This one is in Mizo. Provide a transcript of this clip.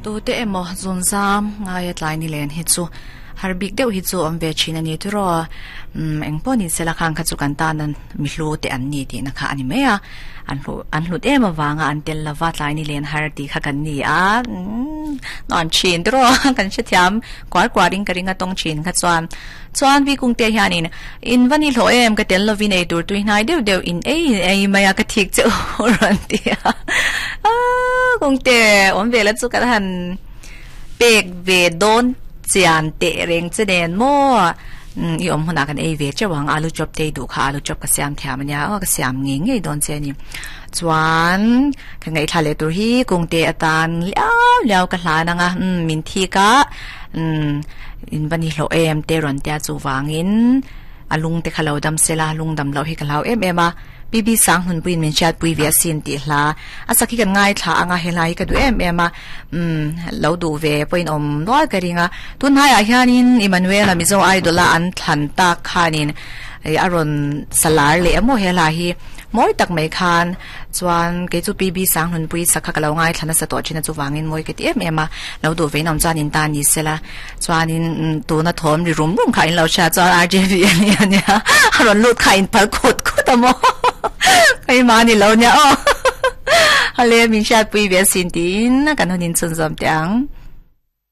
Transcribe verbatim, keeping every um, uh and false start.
Tu te emaw zunzam ngaia tlai ni len hi chu har bik deuh hi chu awm ve thin a ni tiraw umm eng pawh ni sela khang kha chu kan tan an mi hlu te an ni tih na kha a ni mai a an hlu an hlut em avanga an tel lova tlai ni len har tih kha kan ni a umm nuam thin tiraw kan hrethiam kuar kuar in ka ring a tawng thin kha chuan chuan vi kung te hianin in va ni hlawh em ka tel lovin ei tur tui hnai deuh deuh in ei in ei mai a ka thik che u rawn ti a aaa kung te awm ve la chu kan han pek ve dawn chian teh reng che nen maw umm i awm hunah kan ei ve teuh ang alu chop te i duh kha alu chop ka siam thiam ania aw ka siam ngei ngei dawn che a ni chuan ka ngaihthla leh tur hi kungte atan liau liau ka hlan ang a umm min thik a umm in va ni hlawh em te rawn tia chuvangin a lung te kha lo dam sela lung dam loh hi ka hlau em em a. P B Sang Hunpuiin min hriatpui ve asin tih hla a sak hi kan ngaithla ang a, he hla hi ka duh em em a, umm lo duh ve pawhin awm nual ka ring a. Tunhaiah hianin Emmanuel-a Mizo Idol-a an thlan tak khanin ih a rawn salar leh a maw he hla hi mawi tak mai khan chuan kei chu P B Sang Hunpui sak kha ka lo ngaithla nasa tawh thin a chuvangin mawi ka ti em em a, lo duh ve in awm chuan in ta ni sela chuanin tuna thawm ri rum rum kha in lo hria chuan R J V a ni a nia a rawn lut kha in phal khut khut a maw keimah a ni lo nia aw hale min hriatpui ve asin tiin kan hun inchhunzawm teh ang.